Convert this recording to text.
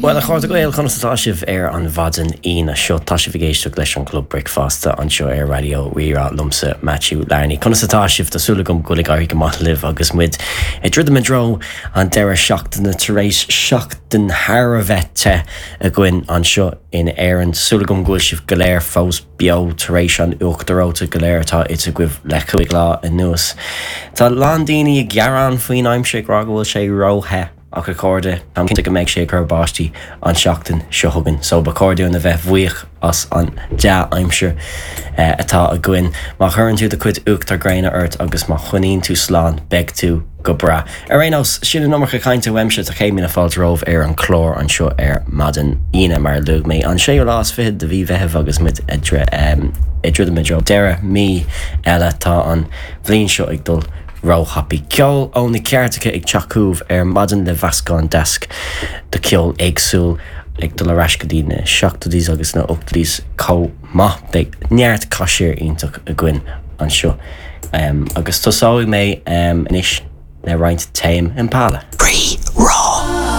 Bhuel, a chairde Gael, conas atá sibh ar an mhaidin Aoine seo? Tá sibh ag éisteacht leis an Chlub Bricfeasta anseo ar Raidió Rí-Rá liomsa, Matthew Larney. Conas atá sibh? Tá súil agam go bhfuil ag éirí go maith libh agus muid ag druidim i dtreo an deireadh seachtaine tar éis seachtain thar a bheith te againn anseo in Éirinn. Tá súil agam go bhfuil sibh go léir fós beo tar éis an uachtar reoite go léir atá ite agaibh le chúig lá anuas. Tá a lán daoine ag gearán faoin aimsir ag rá go bhfuil sé ró-the. Ach a chairde, táim cinnte go mbeidh sé ag cur báistí an seachtain seo chugainn, so ba chóir dúinn a bheith bhuíoch as an dea-aimsir atá againn. Má chuireann tú do chuid uachtar gréine ort agus má choinníonn tú slán, beidh tú go breá. Ar aon nós, sin an iomarca cainte uaimse, tá 100,000 fáilte romhaibh ar an chlár anseo ar maidin Aoine, mar a luaigh mé, an séú lá is fichead de mhí Mheithimh agus muid ag druidim i dtreo deireadh mí eile. Tá an bhliain seo ag dul róthapaidh. Ceol ó na cairteacha ag teacht chugaibh ar maidin le mheascán deas de cheol éagsúil ag dul ar ais go dtí na seachtóidí agus na ochtóidí chomh maith. Beidh neart caiséir iontach againn anseo agus tosóidh mé anois le roinnt Tame Impala. Rí.